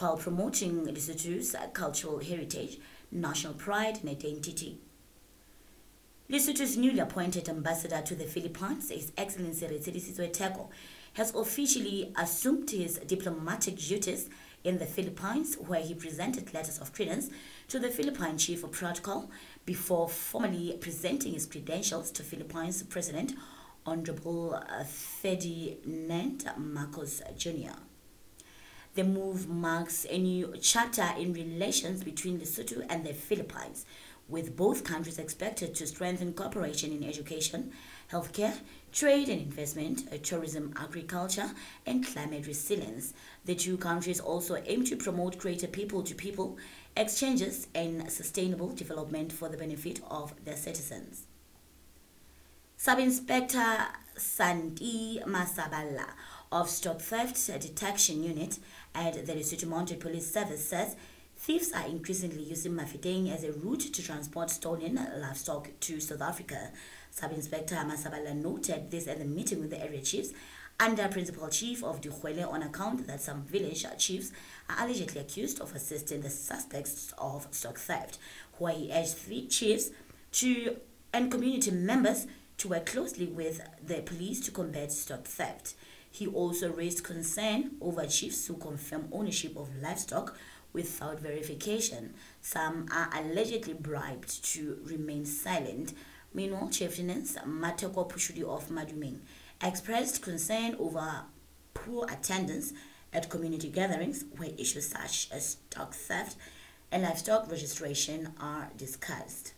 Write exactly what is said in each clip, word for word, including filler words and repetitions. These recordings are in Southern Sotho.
while promoting Lesotho's cultural heritage, national pride and identity. Lesotho's newly appointed ambassador to the Philippines, His Excellency Retšelisitsoe Theko, has officially assumed his diplomatic duties in the Philippines, where he presented letters of credence to the Philippine Chief of Protocol before formally presenting his credentials to Philippines President Honorable Ferdinand Marcos Junior The move marks a new chapter in relations between Lesotho and the Philippines, with both countries expected to strengthen cooperation in education, healthcare, trade and investment, tourism, agriculture, and climate resilience. The two countries also aim to promote greater people-to-people exchanges and sustainable development for the benefit of their citizens. Sub-Inspector Santi Masabala of Stock Theft Detection Unit at the Lesotho Mounted Police Service says thieves are increasingly using Mafeteng as a route to transport stolen livestock to South Africa. Sub-Inspector Masabala noted this at the meeting with the area chiefs under Principal Chief of Dikgwele on account that some village chiefs are allegedly accused of assisting the suspects of stock theft, where he urged three chiefs to and community members to work closely with the police to combat stock theft. He also raised concern over chiefs who confirm ownership of livestock without verification. Some are allegedly bribed to remain silent. Meanwhile, Chieftainess Mateko Pushudi of Madumeng expressed concern over poor attendance at community gatherings where issues such as stock theft and livestock registration are discussed.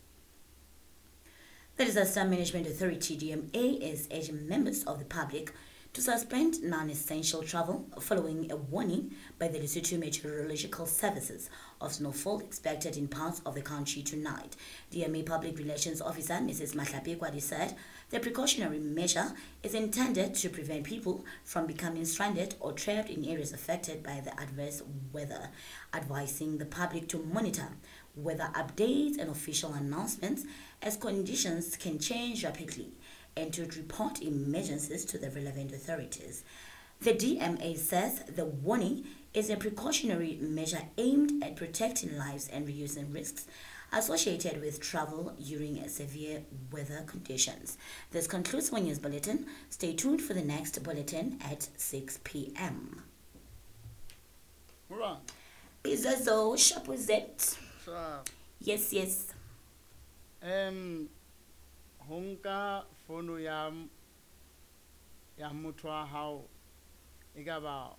The Disaster Management Authority, D M A, is urging members of the public to suspend non-essential travel following a warning by the Lesotho Meteorological Services of snowfall expected in parts of the country tonight. D M A Public Relations Officer Missus Mahlape Kwadi said the precautionary measure is intended to prevent people from becoming stranded or trapped in areas affected by the adverse weather, advising the public to monitor weather updates and official announcements as conditions can change rapidly, and to report emergencies to the relevant authorities. The D M A says the warning is a precautionary measure aimed at protecting lives and reducing risks associated with travel during severe weather conditions. This concludes one News Bulletin. Stay tuned for the next bulletin at six p m. Right. Bizazo, Shapuzet. Yes, yes. Um, Honka fono ya ya motho wa hao e ka ba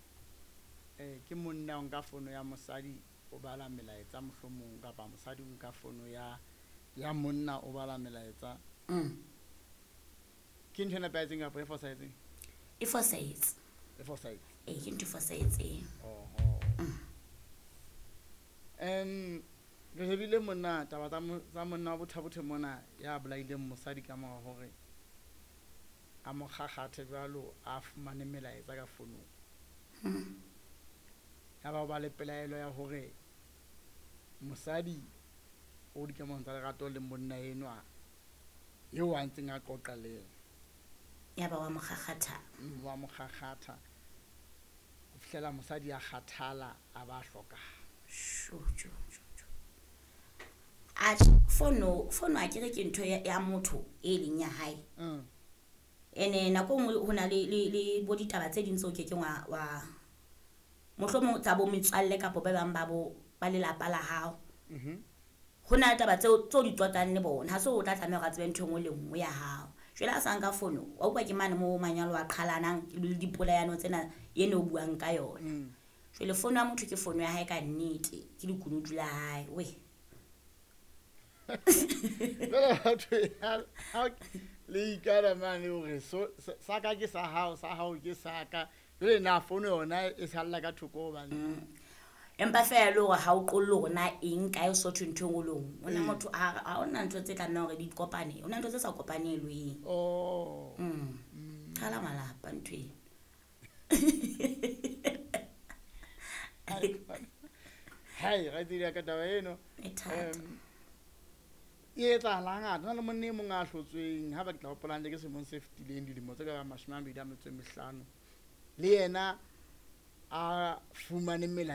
eh ke monna o nka fono ya mosadi o bala melaetsa mohlomong kapa mosadi o nka fono ya ya monna o bala melaetsa. Mm. Ke ntho e nepahetseng kapa e fosahetseng? E fosahetse. E fosahetse. Eh, ke ntho e fosahetseng. Oho. Mm. Em re shebile monna taba tsa mo-, tsa monna wa Botha-Bothe mona ya bolaileng mosadi ka mora hore a mo kgakgathe jwalo a fumane melaetsa ka fonong. Hmm. Ya ba o ba le pelaelo ya hore mosadi o dikamanong tsa lerato le monna enwa eo a ntseng a qoqa le yena. Ya ba wa mo kgakgatha. Mm, wa mo kgakgatha. Ho fihlela mosadi a kgathala a ba hlokahala. Sho, sho, sho, sho. Atjhe, fono, fono a kere ke ntho ya, ya motho e leng ya hae. Mm. Ene nako e nngwe ho na le, le, le bo ditaba tse ding tseo ke keng wa, wa mohlomong tsa bo metswalle kapa ba bang ba bo, ba lelapa la hao. Mhm. Ho na le taba tseo, tseo di qoqang le bona. Ha se o tla tlameha hore a tsebe ntho e nngwe le nngwe ya hao. Jwale ha sa nka fono, wa utlwa ke mane moo manyalo a qhalanang le dipolayano tsena eno o buang ka yona. Mm. Jwale fono ya motho ke fono ya hae ka nnete, ke lekunutu la hae. We. Jwale batho ya, ha le ikana mane hore so, sa, sa ka ke sa hao, sa hao ke sa ka. Jwale na fono yona e salla ka thoko hobane. Mm. Empa feela le hore ha o qolle hore na eng kae o so thwe ntho e nngwe le nngwe. Hona Mm. motho ha, ha hona ntho tse tlamehang hore di kopane. Hona ntho tse sa kopanelweng. Oh. Mm. Mm. Qhala malapa ntho eno. Hai, ra tsebile ka taba eno. E thata. Em, e etsahala hangata. Ho na le monna e mong a hlotsweng, ha ba ke tla hopola hantle ke selemong se fetileng, dilemo tse ka bang mashome a mabedi a metso e mehlano. Le yena a fumane melaetsa